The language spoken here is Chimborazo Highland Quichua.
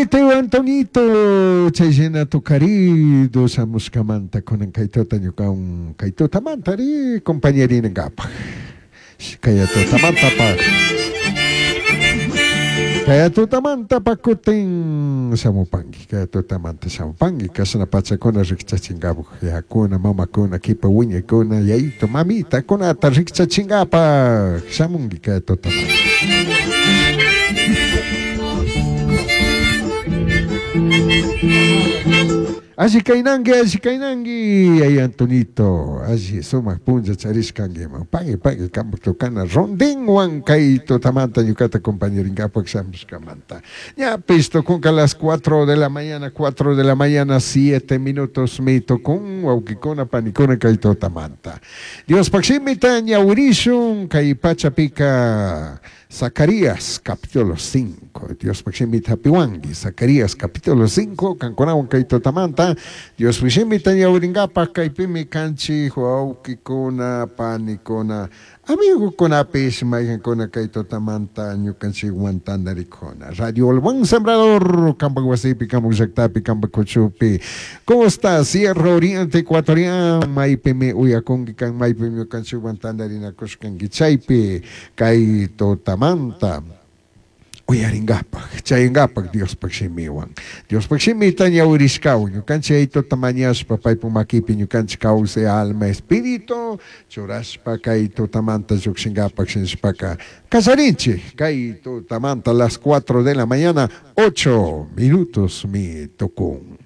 Pagui tío Antonito, chay shina tukarido shamushkamanta kunan kay tuta ñukawan kay tutamanta ri compañeringapak. Kaya tutamanta pak. Kaya tutamanta pak kutin shamupanki, kaya tutamanta shamupanki, kashna pachakuna rikchachinkapak yayakuna, mamakuna, kipa wiñaykuna, yayito, mamitakunata rikchachinkapak shamunki kaya tutamanta. Alli kaynanki, alli kaynanki, yaya Antonito, alli sumak punlla charishkankiman. Pagui, pagui, kampak tocana rondinwan kay tutamanta ñukata compañerinkapak shamushkamanta. Ñapish tukunka las 4 de la mañana, 4 de la mañana, 7 minutos mi tukun, wawkikuna, panikuna kay tutamanta. Diospak shimita ñawirishun kay pachapika Zacarías capítulo 5. Diospak shimita hapiwanki. Zacarías capítulo 5. Kankunawan kay tutamanta. Diospak shimita ñawirinkapak kaypimi kanchik wawkikuna, panikuna, amigukunapish mayqankuna kay tutamanta ñukanchikwan tantarikuna. Radio El Buen Sembrador, kampak wasipi, kampak llaktapi, kampak kuchupi. Costa, Sierra Oriente Ecuatoriana, maypimi uyakunki kan, maypimi ñukanchikwan tantarinakushkanki chaypi kay tutamanta uyarinkapak, chayankapak Diospak shimiwan. Diospak shimita ñawirishkawan, ñukanchik yayituta mañashpa paypak makipi ñukanchik kawsay alma espíritu churashpa kay tutamanta llukshinkapak shinashpaka kallarinchik kay tutamanta las 4 de la mañana 8 minutos mi tukun.